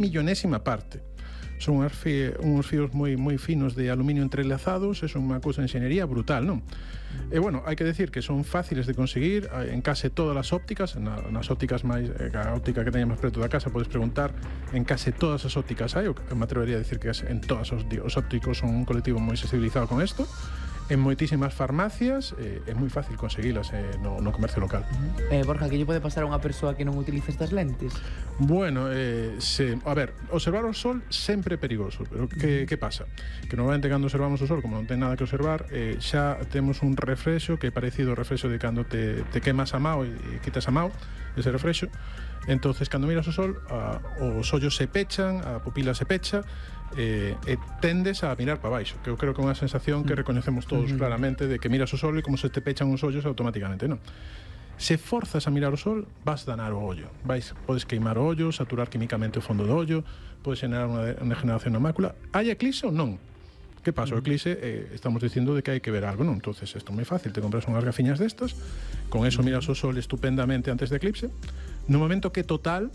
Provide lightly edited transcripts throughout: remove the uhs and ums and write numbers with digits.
millonésima parte. Son uns fíos moi finos de aluminio entrelazados, é unha cousa de enxeñería brutal, non? E, bueno, hai que decir que son fáciles de conseguir en case todas as ópticas, nas ópticas máis, a óptica que teña máis preto da casa, podes preguntar, en case todas as ópticas hai, me atrevería a decir que en todas os ópticos son un colectivo moi sensibilizado con isto, en moitísimas farmacias, é moi fácil conseguilas no comercio local. Borja, que lle pode pasar a unha persoa que non utiliza estas lentes? Bueno, a ver, observar o sol sempre é perigoso, pero que pasa? Que normalmente cando observamos o sol, como non ten nada que observar, xa temos un reflexo que é parecido ao reflexo de cando te quemas a mao e quitas a mao, ese reflexo. Entonces, cando miras o sol, os ollos se pechan, a pupila se pecha, e tendes a mirar para baixo, que eu creo que é unha sensación que recoñecemos todos claramente, de que miras o sol e como se te pechan os ollos automáticamente, non? Se forzas a mirar o sol, vas danar o ollo. Podes queimar o ollo, saturar químicamente o fondo do ollo, podes generar unha degeneración na mácula. Hai eclipse ou non? Que pasa? O eclipse, estamos dicindo de que hai que ver algo, non? Entonces, isto é moi fácil, te compras unhas gafiñas destas, con eso miras o sol estupendamente antes de eclipse. No momento que total,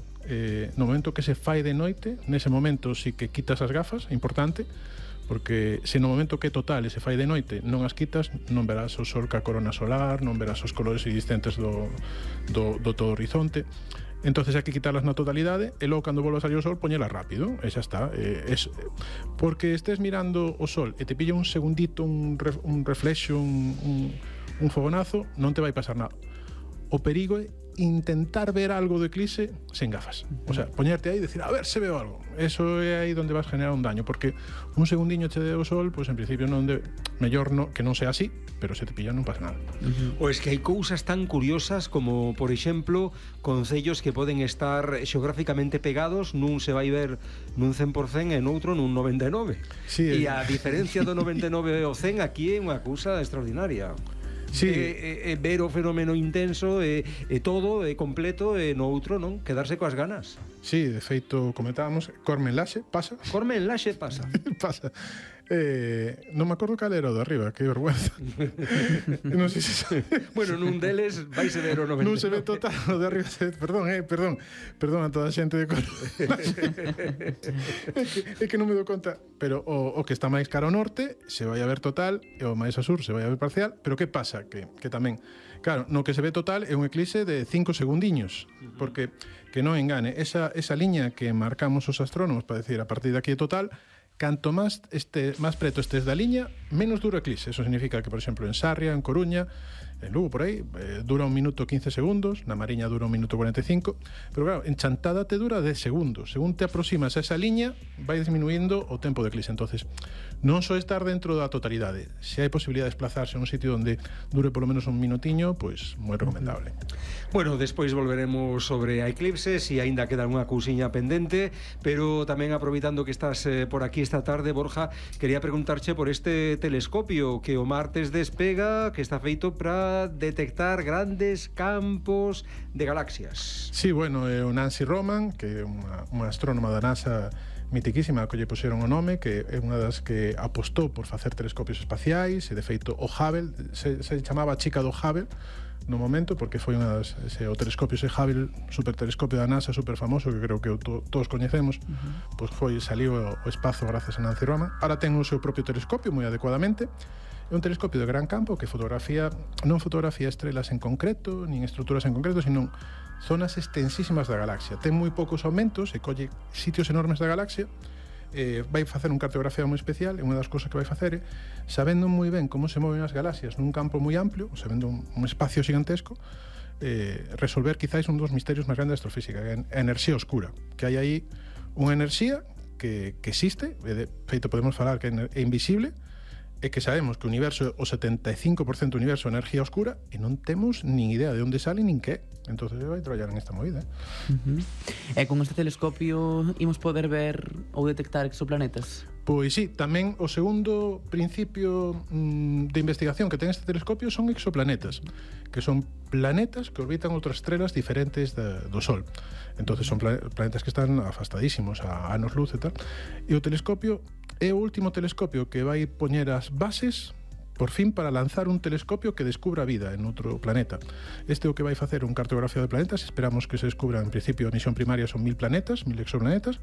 no momento que se fai de noite, nese momento sí que quitas as gafas, é importante, porque se no momento que total e se fai de noite non as quitas, non verás o sol ca corona solar, non verás os colores existentes do todo o horizonte. Entonces hai que quitarlas na totalidade e logo cando volva a salir o sol poñelas rápido e xa está. Porque estés mirando o sol e te pilla un segundito, un reflexo, un fogonazo, non te vai pasar nada. O perigo é intentar ver algo do eclipse sen gafas. O sea, poñerte aí e decir, a ver se veo algo. Eso é aí onde vas generar un daño, porque un segundiño che deu o sol, pois en principio non mellor que non sea así, pero se te pilla non pasa nada. Ou es que hai cousas tan curiosas como, por exemplo, concellos que poden estar xeográficamente pegados, nun se vai ver nun 100% e noutro nun 99%. Sí, e a diferencia do 99 ao 100 aquí é unha cousa extraordinaria. Sí. Ver o fenómeno intenso e todo completo e no outro, non? Quedarse coas ganas. Sí, de feito, comentábamos, Corme en Laxe pasa. Corme en Laxe pasa. Pasa. Non me acordo cal era o de arriba, que vergüenza. Non sei se... Bueno, nun deles vaise ver o 99. Non se ve total o de arriba. Perdón a toda a xente de Corme. É que non me dou conta. Pero o que está máis cara ao norte se vai a ver total e o máis ao sur se vai a ver parcial. Pero que pasa? Que tamén, claro, no que se ve total é un eclipse de 5 segundiños. Porque, que non engane, esa liña que marcamos os astrónomos para decir a partir de aquí é total, canto máis preto estes da liña, menos dura o eclipse. Eso significa que, por exemplo, en Sarria, en Coruña, en Lugo, por aí, dura 1 minuto 15 segundos, na Mariña dura 1 minuto 45, pero claro, en Chantada te dura 10 segundos. Según te aproximas a esa liña, vai disminuindo o tempo de eclipse. Entonces, non só estar dentro da totalidade. Se hai posibilidade de desplazarse a un sitio onde dure polo menos un minutiño, pois moi recomendable. Bueno, despois volveremos sobre a eclipses e aínda queda unha cousiña pendente, pero tamén aproveitando que estás por aquí esta tarde, Borja, quería preguntarche por este telescopio que o martes despega, que está feito para detectar grandes campos de galaxias. Sí, bueno, é o Nancy Roman, que é unha astrónoma da NASA mitiquísima, que lle puxeron o nome, que é unha das que apostou por facer telescopios espaciais, e de feito o Hubble se chamaba a chica do Hubble no momento, porque foi unha das, o telescopio ese Hubble, supertelescopio da NASA, super famoso, que creo que todos coñecemos, pois saliu o espazo grazas a Nancy Roman. Ahora ten o seu propio telescopio moi adecuadamente. É un telescopio de gran campo que non fotografía estrelas en concreto, nin estruturas en concreto, sino zonas extensísimas da galaxia. Ten moi poucos aumentos e colle sitios enormes da galaxia. Vai facer un cartografía moi especial, e unha das cousas que vai facer é, sabendo moi ben como se moven as galaxias nun campo moi amplio, sabendo un espacio gigantesco, resolver quizáis un dos misterios máis grandes da astrofísica, que é a enerxía oscura, que hai aí unha enerxía que existe, de feito podemos falar que é invisible, e que sabemos que o universo, o 75% do universo é enerxía oscura, e non temos nin idea de onde sale nin que. Entonces vai traballar en esta movida. E con este telescopio imos poder ver ou detectar exoplanetas? Pois sí, tamén o segundo principio de investigación que ten este telescopio son exoplanetas, que son planetas que orbitan outras estrelas diferentes do Sol. Entonces son planetas que están afastadísimos a anos luz e tal. E o telescopio é o último telescopio que vai poñer as bases por fin para lanzar un telescopio que descubra vida en outro planeta. Este é o que vai facer un cartografía de planetas. Esperamos que se descubra, en principio, a misión primaria son 1000 planetas, 1000 exoplanetas,